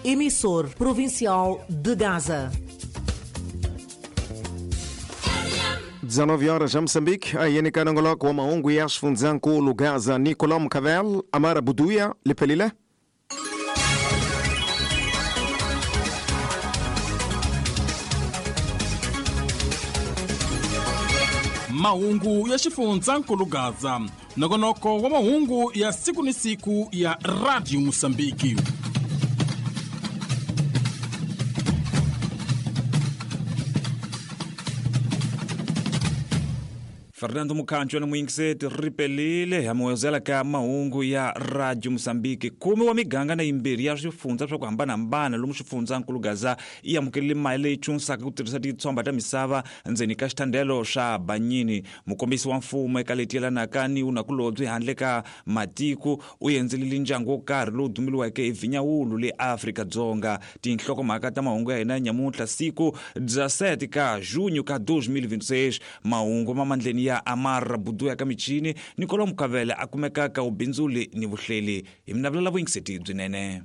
Emissor provincial de Gaza. 19 horas em Moçambique, a INK Nangoloko wa maungu ya xifundzhankulu Gaza, Nicolau Mkhavel, Amara Buduya, Liphelile. Mahungu ya xifundzhankulu Gaza, nongonoko wa mahungu ya siku ni siku ya Radio Mosambiki. Fernando Mukhancho na muyingiseti ripelile hamuwezela ka mahungu ya Radio Mosambiki. 10 wa miganga na yimbirhi ya swifundza swa ku hambanahambana lomu xifundzankulu Gaza yi amukelile mali leyi chunsaka ku tirhisa titshomba ta misava ndzeni ka xithandelo xa Banyini. Mukombisi wa mfumo eka leti yelanaka ni unakulobye handle ka matiko u endzelile ndyangu wo karhi lowu dumiliweke hi Vinyawulu le Afrika-Dzonga. Tinhlokomhaka ta mahungu ya hina nyamuntlha siku 17 ka junho ka 2026. Mahungu ma mandleni ya Amara Buduya ka michini, Nicolau Mkhavele a kumeka ka ubindzuli ni vuhleli. Hi mina vulela vuyingiseti byinene.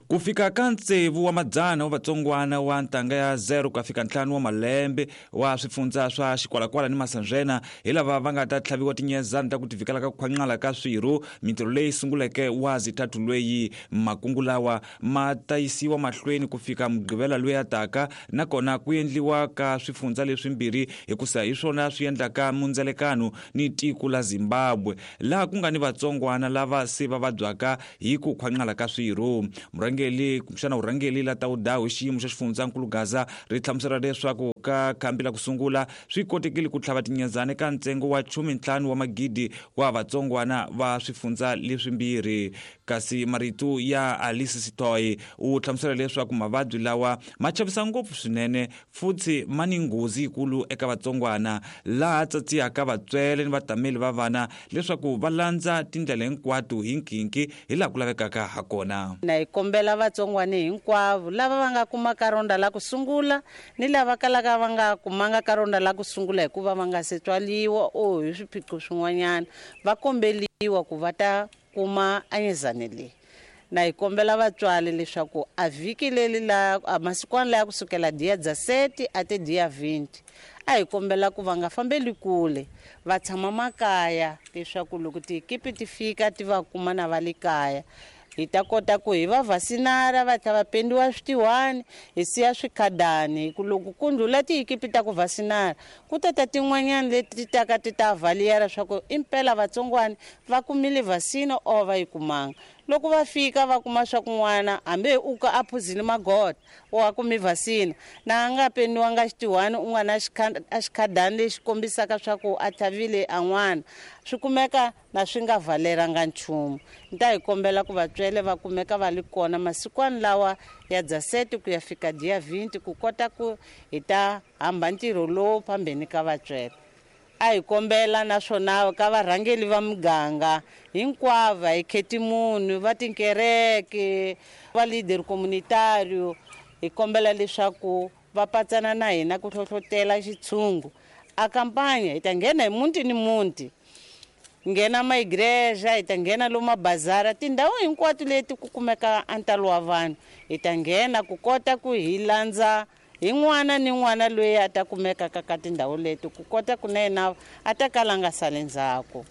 Ku fika ka 6 wa madzana wa vatsongwana wa ntanga ya 0 ku ya fika 5 wa malembe wa swifundza swa Xikwalakwala ni Masandzena hi lava va nga ta tlhaviwa tinyezana ta ku tivikela ka ku khwanqala ka swirho. Mintirho leyi sunguleke wa zithathu lweyi makungu lawa ma ta yisiwa mahlweni ku fika Mugqivela loyi a taka, nakona ku endliwa ka swifundza leswimbirhi hikusa hi swona swi endlaka mundzelekano ni tiko la Zimbabwe laha ku nga ni vatsongwana lava se va vabyaka hi ku khwanqala ka swirho. Murhangeli kumbexana urhangeli la tawudawu hi xiyimo xa xifundzankulu Gaza ri hlamusela leswaku ka khambi la ku sungula swi kotekile ku tlhava tinyezana eka ntsengo wa 15 wa magidi wa vatsongwana va swifundza leswimbirhi. Kasi marito ya Alice Sitoy u hlamusela leswaku mavabyi lawa ma chavisa ngopfu swinene futhi ma ni nghozi yikulu eka vatsongwana, laha tsatsiyaka vatswele ni vatameli va vana leswaku va landza tindlela hinkwato hi nkinki hi laha ku lavekaka ha kona. Na hi kombela vatsongwana hinkwavo lava va nga kuma ka ronda la ku sungula ni lava kalaka va nga kumanga ka ronda la ku sungula hikuva va nga se tswaliwa o hi swiphiqo swin'wanyana, va kombeliwa ku va ta kuma anyezane leyi. Na hi kombela vatswari leswaku a vhiki leri la a masikwana laya kusukela dia 17 a te dia 20, a hi kombela ku va nga fambeli kule, va tshama makaya leswaku loko tiekipi ti fika ti va kuma na va le kaya, hi ta kota ku hi va vasinara va tlhela va pendiwa switiwani, hi siya swikhadani. Hi ku loko ku ndlhula tiekipi ta ku vasinara ku ta ta tin'wanyana leti ti taka ti ta valiyela swa ku impela vatsongwana va kumile vasina or va yi kumanga. Loko va fika va kuma swa ku n'wana hambi u ka a phuzile magoda o a kumi vasina, na a nga pendiwanga xitiwani u nga na a xikhadani lexi kombisaka swa ku a tlhavile a n'wana, swi kumeka na swi nga valeranga nchumu. Ni ta hi kombela ku vatswele va kumeka va li kona masikwana lawa ya 17 ku ya fika dia 20 ku kota ku hi ta hamba ntirho lowu phambeni ka vatswele. A hi kombela naswona ka varhangeli va muganga hinkwavo, hi kheti munhu, va tinkereke, va leader communitario, hi kombela leswaku va patsana na hina ku hlohlotela xitshungu. A kampanya hi ta nghena hi muti ni muti, nghena maigreja, hi ta nghena lomu mabazara, tindhawu hinkwato leti ku kumeka a ntalo wa vanhu, hi ta nghena ku kota ku hi landza hi n'wana ni n'wana loyi a ta kumekaka ka tindhawu leti, ku kota ku na yena a ta kala a nga sali ndzhaku.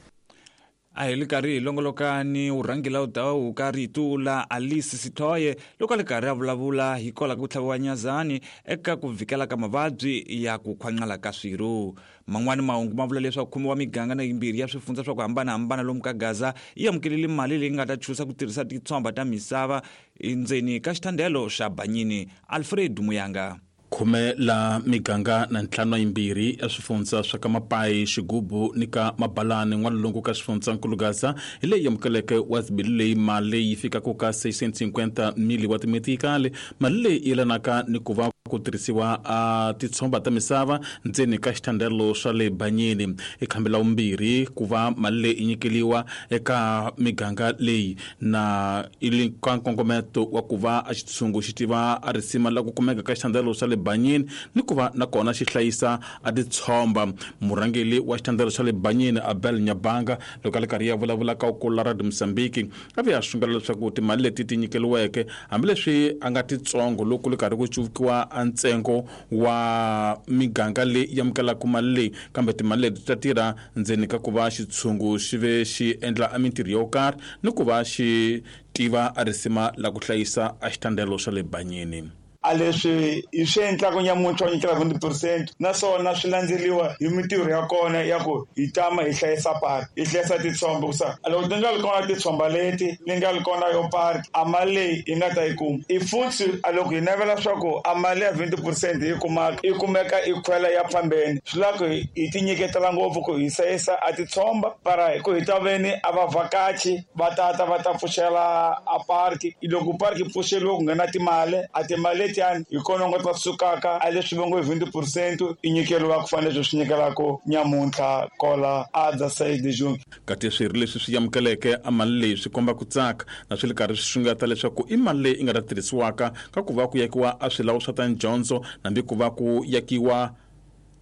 A hi li karhi hi longoloka ni urhangela udawu ka rito la Alice Sithoye loko a li karhi a vulavula hi kwala ku tlhaviwa nyazani eka ku vikela ka mavabyi ya ku khwanqala ka swirho. Man'wani mahungu ma vula leswaku khume wa miganga na yimbirhi ya swifundza swa ku hambanahambana lomu ka Gaza yi amukelile mali leyi nga ta chusa ku tirhisa titshomba ta misava endzeni ka xithandelo xa Banyini. Alfred Muyanga. 10 la miganga na 52 ya swifundza swa ka Mapai, Xigubu ni ka Mabalani n'walungu ka xifundzankulu Gaza hi leyi amukeleke wa zibili leyi mali leyi yi fikaka ka 650 mili wa timetikali. Mali leyi yelanaka ni ku va ku tirhisiwa a titshomba ta misava ndzeni ka xithandelo swa le Banyini. I khambi la vumbirhi ku va mali leyi i nyikeliwa eka miganga leyi na i le ka nkongometo wa ku va a xitshungu xi tiva a risima la ku kumeka ka xithandelo xa le Banyini ni ku va nakona xi hlayisa a titshomba. Murhangeli wa xithandelo xa le Banyini Abel Nyabanga loko a le karhi ya vulavula ka ukulu la Radio Mozambique a ve a sungula leswaku timali leti ti nyikeliweke hambileswi a nga titsongo loko le karhi ku cuvukiwa a ntsengo wa miganga leyi amukelaka mali leyi, kambe timali leti ta tirha ndzeni ka ku va xitshungu xi ve xi endla a mintirho yo karhi ni ku va xi tiva a risima la ku hlayisa a xithandelo xa le Banyini. A leswi hi swi endlaka nyamuntlha wa nyikela 20% naswona swi landzeriwa hi mintirho ya kona ya ku hi tama hi hlayisa park, hi hlayisa titshomba ku sa loko ti nga ri kona titshomba leti ni nga ri kona yo park a mali leyi hi nga ta yi kuma i futhi a loko hi navela swa ku a mali ya 20% hi kumaka i kumeka i khwela ya phambeni swi lava ku hi ti nyiketela ngopfu ku hi hlayisa a titshomba para ku hi ta veni a vavhakachi va tata va ta pfuxela a park. Loko park yi pfuxeriwa ku nghena timali a timali letiya hi kona nga ta sukaka a leswi va ngo hi 20% i nyikeriwa ku fanele leswi swi nyikelaka nyamuntlha kola a dza side june. Kati swirho leswi swi amukeleke a mali leyi swi komba ku tsaka na swi le karhi swi xungeta leswaku i mali leyi i nga ta tirhisiwaka ka ku va ku yakiwa a swilawu swa ta dyondzo nambi ku va ku yakiwa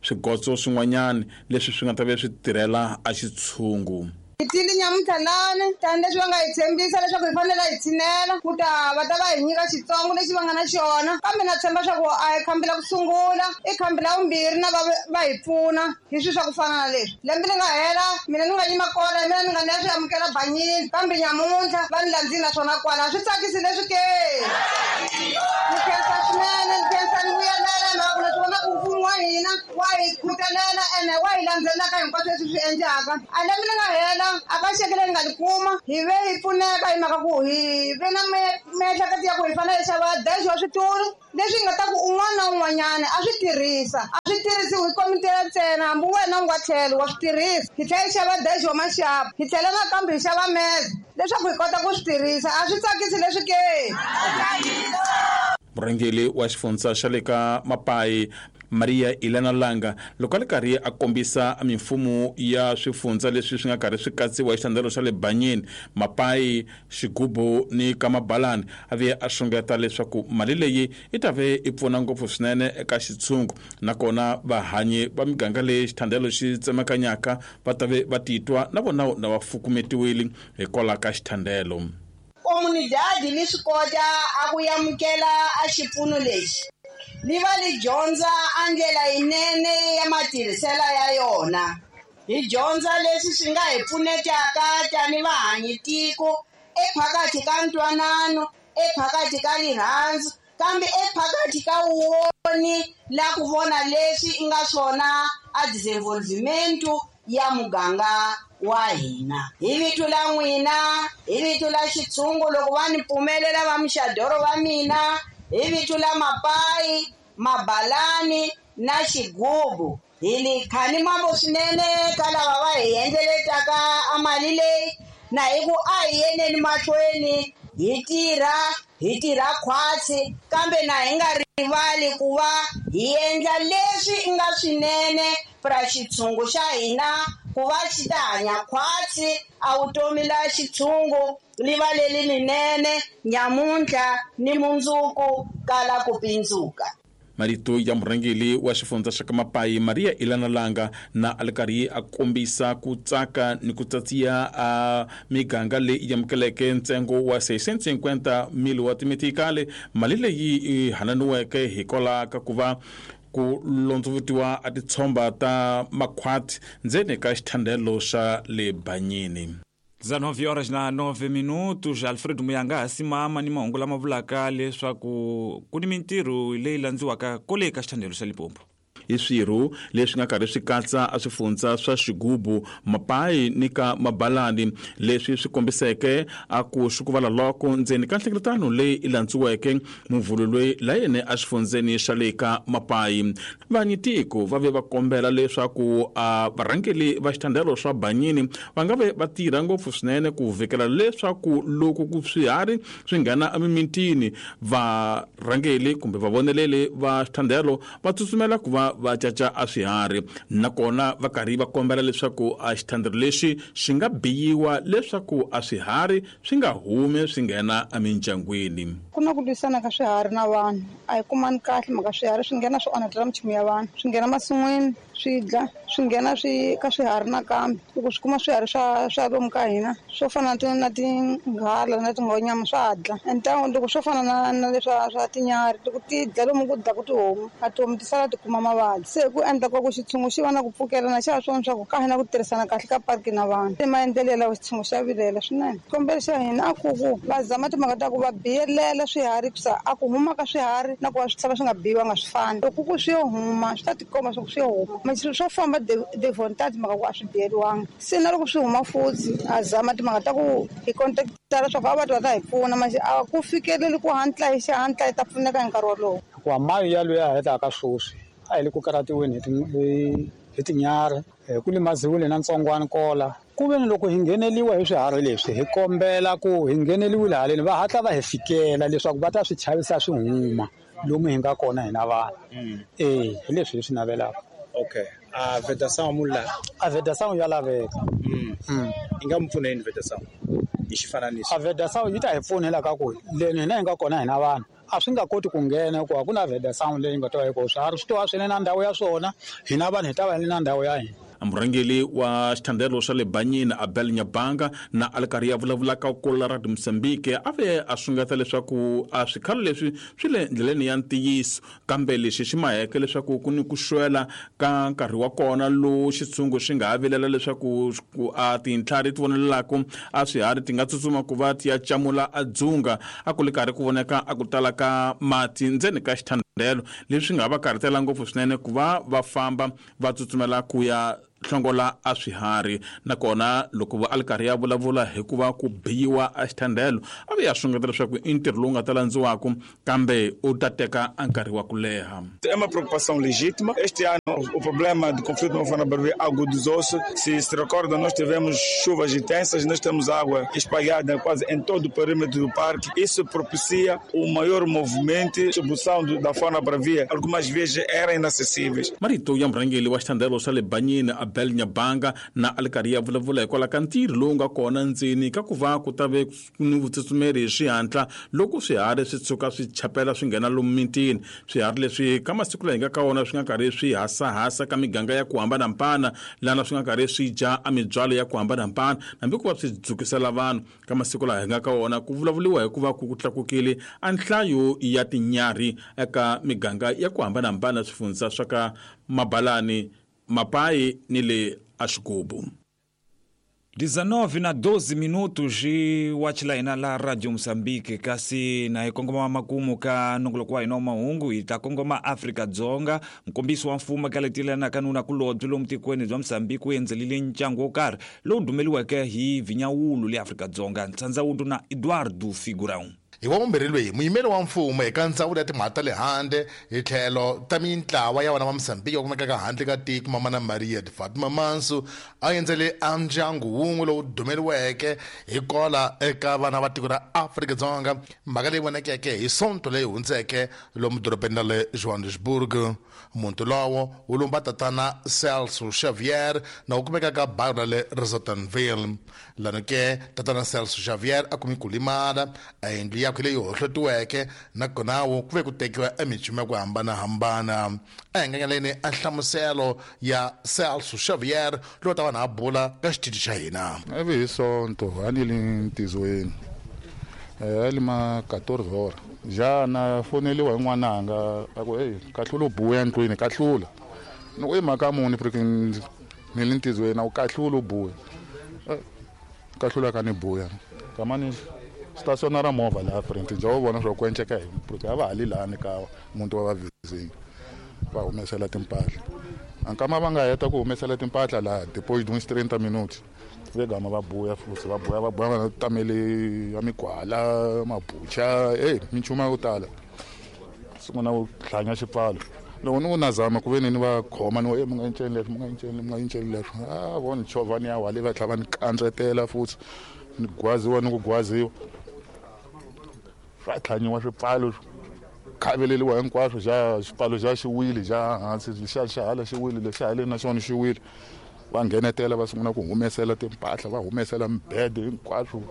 swigotso swin'wanyana leswi swi nga ta ve swi tirhela a xitshungu. Hi tile nyamuntlha lani tani leswi va nga hi tshembisa leswaku hi fanele hi tshinela ku ta va ta va hi nyika xitsongo lexi va nga na xona, kambe na tshemba swa ku a hi khambi la ku sungula i khambi la vumbirhi na va hi pfuna hi swilo swa ku fana na leswi. Lembe li nga hela mina ni nga yima kona mina ni nga ni ya swi amukela Banyini, kambe nyamuntlha va ni landzile naswona kwala swi tsakisi leswi ke. Ni khensa swinene, ni khensa ni vuyelela hi mhaka ku na swi vona ku mfumo wa hina wa hi khutelela ene wa hi landzelela ka hinkwaswo leswi swi endlaka. A lembe li nga hela a ka xeke leyi nga li kuma hi ve hi pfuneka hi mhaka ku hi ve na miehleketo ya ku hi fanele hi xava dash wa switulu leswi nga ta ku un'wana na un'wanyana a swi tirhisa, a swi tirhisiwi hi komiti ya ntsena, hambi wena u nga tlhelo wa swi tirhisa. Hi tlhela hi xava dash wa maxapu, hi tlhela nakambe hi xava meze leswaku hi kota ku swi tirhisa. A swi tsakisi leswi ke. Murhangeri wa xifundza xa le ka Mapai Maria Elena Langa loko a le karhi a kombisa mimfumo ya swifundza leswi swi nga karhi swi katsiwa hi xithandelo xa le Banyini, Mapai, Xigubu ni ka Mabalani, a ve a xungeta leswaku mali leyi i ta ve i pfuna ngopfu swinene eka xitshungu nakona vahanyi va miganga leyi xithandelo xi tsemakanyaka va ta ve va titwa na vona na va fukumetiwile hikwalaho ka xithandelo. Comunidade li swi kota a ku amukela a xipfuno lexi li va li dyondza a ndlela yinene ya matirhiselo ya yona. Hi dyondza leswi swi nga hi pfunetaka tani vahanyi tiko ephakathi ka ntwanano, ephakathi ka rirhandzu, kambe ephakathi ka woni la ku vona leswi i nga swona a desenvolvimento ya muganga wa hina. Hi vito la n'wina, hi vito la xitshungu loko va ni pfumelela va muxadoro va mina, hi vito la Mapai, Mabalani na Xigubu. Hi li khani mambo swinene ka lava va hi endleletaka a mali leyi, na hi ku a hi yeneni mahlweni hi tirha khwatsi, kambe na hi nga rivali ku va hi endla leswi i nga swinene pra xitshungu xa hina ku va xi ta hanya khwatsi a vutomi la xitshungu li va leli linene nyamuntlha ni mundzuku kala ku pindzuka. Marito ya murhangeri wa xifundza xa ka Mapai Maria Elena Langa na a le karhi a kombisa ku tsaka ni ku tsatsiya a miganga leyi amukeleke ntsengo wa 650,000 wa timetikali, mali leyi i hananiweke hikwalaho ka ku va ku londzovutiwa a titshomba ta makhwati ndzeni ka xithandelo xa le Banyini. 19 horas na 9 minutos. Alfredo Muyanga simama ni mahungu lama vulaka leswaku ku ni mintirho leyi landziwaka kole ka xithandelo xa Limpopo. I swirho leswi nga karhi swi katsa a swifundza swa Xigubu, Mapayi ni ka Mabalani, leswi swi kombiseke a ku xukuvala loko ndzeni ka nhlengeletano leyi i landziweke muvhulu loyi la yene a xifundzeni xa le ka Mapayi. Vanyitiko va ve va kombela leswaku a varhangeli va xithandelo swa Banyini va nga ve va tirha ngopfu swinene ku vhikela leswaku loko ku swiharhi swi nghena emimitini, varhangeli kumbe vavoneleli va xithandelo va tsutsumela ku va va caca a swiharhi, nakona va karhi va kombela leswaku a xithandelo lexi xi nga biyiwa leswaku a swiharhi swi nga humi swi nghena emindyangwini. Ku na ku lwisana ka swiharhi na vanhu, a hi kumani kahle mhaka swiharhi swi nghena swi onhetela minchumu ya vanhu, swi nghena masin'wini swi dla, swi nghena swi ka swiharhi nakambe. Loko swi kuma swiharhi swa lomu ka hina swo fana na tinghala na tingonyama swa dla. And loko swo fana na leswa swa tinyarhi, loko ti dla lomu ku dlaku tihomu, a tihomu ti sala ti kuma mavabyi. Se ku endla ku xitshungu xi va na ku pfukelana xa swona swa ku ka hina ku tirhisana kahle ka parki na vanhu. I maendlelo lawa xitshungu xa vilela swinene. Xikombelo xa hina a ku ku va zama timhaka ta ku va biyelela swiharhi kusa a ku huma ka swiharhi na ku va swi tlhava swi nga biyiwanga swi fani. Loko ku swi yo huma swi ta tikomba swa ku swi yo huma, swo famba de volonté mhaka ku a swi biyeliwanga. Se na loko swi huma futhi a zama timhaka ta ku hi contactara swa ku a va ta hi pfuna, manje a ku fikeleli ku hatla hi xihatla hi ta pfuneka hi nkarhi wolowo. Hikuva mayi ya luya hetaka sweswi a hi le ku karhatiweni hi tinyarhi, ku limaziwile na ntsongwana kola. Ku ve ni loko hi ngheneliwa hi swiharhi leswi, hi kombela ku hi ngheneliwile haleni va hatla va hi fikela leswaku va ta swi chavisa swi huma lomu hi nga kona hina vanhu. Hi leswi hi swi navelaka. Okay. A vedação mula. A vedação ya laveka. Yi nga mi pfuna yini vedação? Hi xifananiso. A vedação yi ta hi pfuna ka ku leni hina hi nga kona hina vanhu a swi nga koti ku nghena hikuva ku na vedação leyi nga ta va yi kona. Swiharhi swi to va swi ri na ndhawu ya swona, hina vanhu hi ta va hi ri na ndhawu ya hina. Murhangeri wa xithandelo xa le Banyini Abel Nyabanga na a ri karhi a vulavulaka kula ra Mozambique a ve a sungeta leswaku a swikhalo leswi swi le ndleleni ya ntiyiso, kambe lexi xi maheke leswaku ku ni ku xwela ka nkarhi wa kona lowu xitshungu xi nga ha vilela leswaku a tintlhari ti vonelelaka a swiharhi ti nga tsutsuma ku va ti ya camula a dzunga. A ku ri karhi ku voneka a ku tala ka mati ndzeni ka xithandelo, leswi nga va karhatela ngopfu swinene ku va va famba va tsutsumela ku ya hlongola a swiharhi. Nakona loko a ri karhi ya vulavula hikuva ku biyiwa a xithandelo, a ve ya sungeta leswaku i ntirho lowu nga ta landziwaka kambe u ta teka a nkarhi wa ku leha. É uma preocupação legítima. Este ano o problema do conflito não foi na Barbeira agudizou-se. Se recorda, nós tivemos chuvas intensas, nós temos água espalhada quase em todo o perímetro do parque. Isso propicia o maior movimento, distribuição da fauna bravia. Algumas vezes eram inacessíveis. Marito ya murhangeri wa xithandelo xa le Banyini Abel Nyabanga na a ri karhi ya vulavula hikwalaho ka ntirho lowu nga kona ndzeni ka ku va ku ta ve ni vutsutsumeri hi xihatla loko swiharhi swi tshuka swi chapela swi nghena lomu mitini. Swiharhi leswi ka masiku laha hi nga ka wona swi nga karhi swi hasahasa ka miganga ya ku hambanahambana, lana swi nga karhi swi dya a mibyalo ya ku hambanahambana, hambi ku va swi dzukisela vanhu. Ka masiku laha hi nga ka wona ku vulavuriwa hikuva ku tlakukile a nhlayo ya tinyarhi eka miganga ya ku hambanahambana swifundza swa ka Mabalani, Mapai ni le Axigubu. 19:12 minutos wa hina la Radio Mozambique, kasi na hi kongoma makumu ka nongoloko wa hina wa mahungu. Hi ta kongoma Afrika Dzonga. Mukombisi wa mfumo ka letilana ka nuna kulobye lomu tikweni bya Mozambique wu endzelile ntyangu wo karhi lowu dumeliweke hi Vinyawulu le Afrika Dzonga. Ntsandzawundo na Eduardo Figurão. Hi wa vumbirhi loyi muyimeri wa mfumo eka ndzawulo ya timhaka ta le handle hi tlhelo ta mintlawa ya vana va Mozambique va kumekaka handle ka tiko, Mamana Maria de Fatima Manso a endzele a ndyangu wun'we lowu dumeliweke hi kola eka vana va tiko ra Afrika-Dzonga, mhaka leyi vonekeke hi Sonto leyi hundzeke lomu dorobeni ra le Johannesburg. Muti lowo wu lumba tatana Celso Xavier na wu kumeka ka bayo ra le Rosettenville. Lano ke tatana Celso Xavier a kumi ku limala a yindlu yakwe leyi hohlotiweke, nakona wo ku ve ku tekiwa emichumu ya ku hambanahambana. A hi nganyaleni a nhlamuselo ya Celso Xavier lowu ta vanhu a bula ka xitichi xa hina. Ivi hi Sonto a ni le ntizweni, a li ma 14 hora ja na foneliwa hi n'wananga a ku hey, kahlula u buya ndlwini, kahlula. Ni ku i mhaka muni freaking ni le ntizweni, a ku kahlula u buya. Kahlula ka ni buya kamani stationa ra movha laha front nja wo vona swa ku enceka hi porque a va hali lani ka muntu wa va vizini. Va humesela timpahla. Ankama va nga heta ku humesela timpahla laha depois de uns 30 minutos ve gama va buya futhi va buya va buya va tamele ya migwala mabucha minchumu yo tala. Sungula ku hlanya xipfalo. Loko ni ku na zama ku ve ni va khoma ni mi nga enceni leswi mi nga enceni mi nga enceni leswi a vo ni chovha ni ya wale va tlhela va ni kandzetela futhi ni gwaziwa ni ku gwaziwa swa tlhanyiwa swipfalo khaveleriwa hinkwaswo xa xipfalo xa xiwile xa hansi xa xa hala xiwile lexi haleni na xona xiwile. Va nghenetela va sungula ku humesela timpahla va humesela mibede hinkwaswo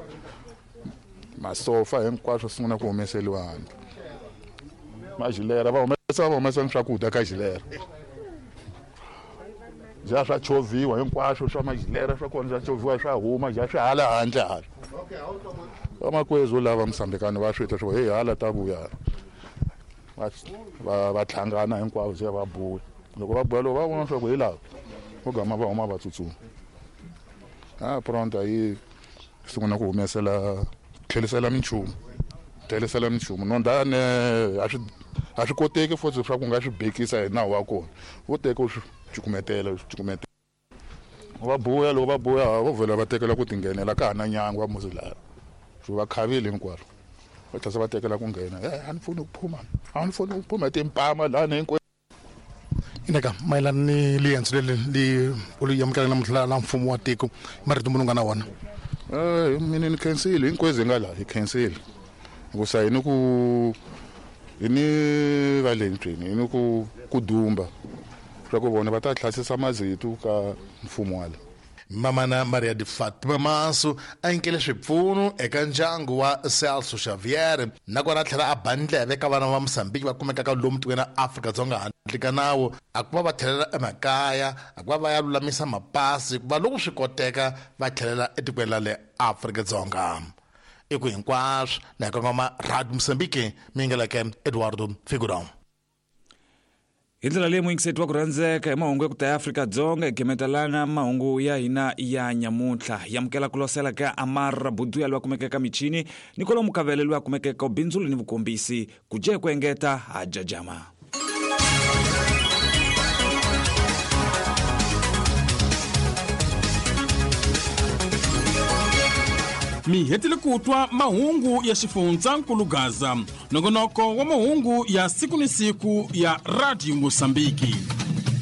masofa hinkwaswo sungula ku humeseliwa handle. Majilera va humesa swakudya ka jilera ja swa chovhiwa hinkwaswo swa majilera swa kona swa chovhiwa swa huma ja swi hala handle hala. Vamakwezu lava Mosambikani va swi twa swo hey hala ta vuya va tlhangana hinkwavo se va buya. Loko va buya loko va vona swa ku hi lava vo gama va huma va tsutsuma. Pronto yi sungula ku humesela tlhelisela minchumu tlhelisela minchumu nondane a swi koteki futhi swa ku nga swi bekisa hi nawu wa kona vo teka u swi cukumetela va buya loko va buya vo vhela va tekela ku tinghenela ka ha na nyangwa muzi laha swi va khavile hinkwaswo va tlhela va tekela ku nghena a ni funi ku phuma a ni funi ku phuma timpama lani hinkwenu. Ineka mayelana ni liendzo leri li u li amukela namuntlha la mfumo wa tiko marito munhu nga na wona. Mina ni khensile hinkwenu hi nga laha hi khensile hikusa hi ni ku hi ni va le ndlwini hi ni ku dumba swa ku vona va ta hlasisa mazitu ka mfumo wala. Mamana Maria de Fatima Masu a nyikele swipfuno eka ndyangu wa Celso Xavier nakona a tlhela a ba ndleve ka vana va Mosambiki va kumekaka lomu tikweni ra Afrika-Dzonga handle ka nawu a ku va va tlhelela emakaya a ku va va ya lulamisa mapasi ku va loko swi koteka va tlhelela etikweni ra le Afrika-Dzonga. I ku hinkwaswo na hi kongoma Radio Mosambiki mi yingeleke Eduardo Figurão. Hi ndlela leyi muyingiseti wa ku rhandzeka hi mahungu ya ku ta ya Afrika-Dzonga hi gemetelana mahungu ya hina ya nyamuntlha. Hi amukela ku losela ka Amar Buduya loyi a kumekaka eka michini ni kwalomu Mukavele loyi a kumekaka eka vubindzuli ni vukombisi. Ku dya hi ku engeta ha jajama. Mi hetile ku twa mahungu ya xifundzankulu Gaza, nongonoko wa mahungu ya siku ni siku ya Radio Mosambiki.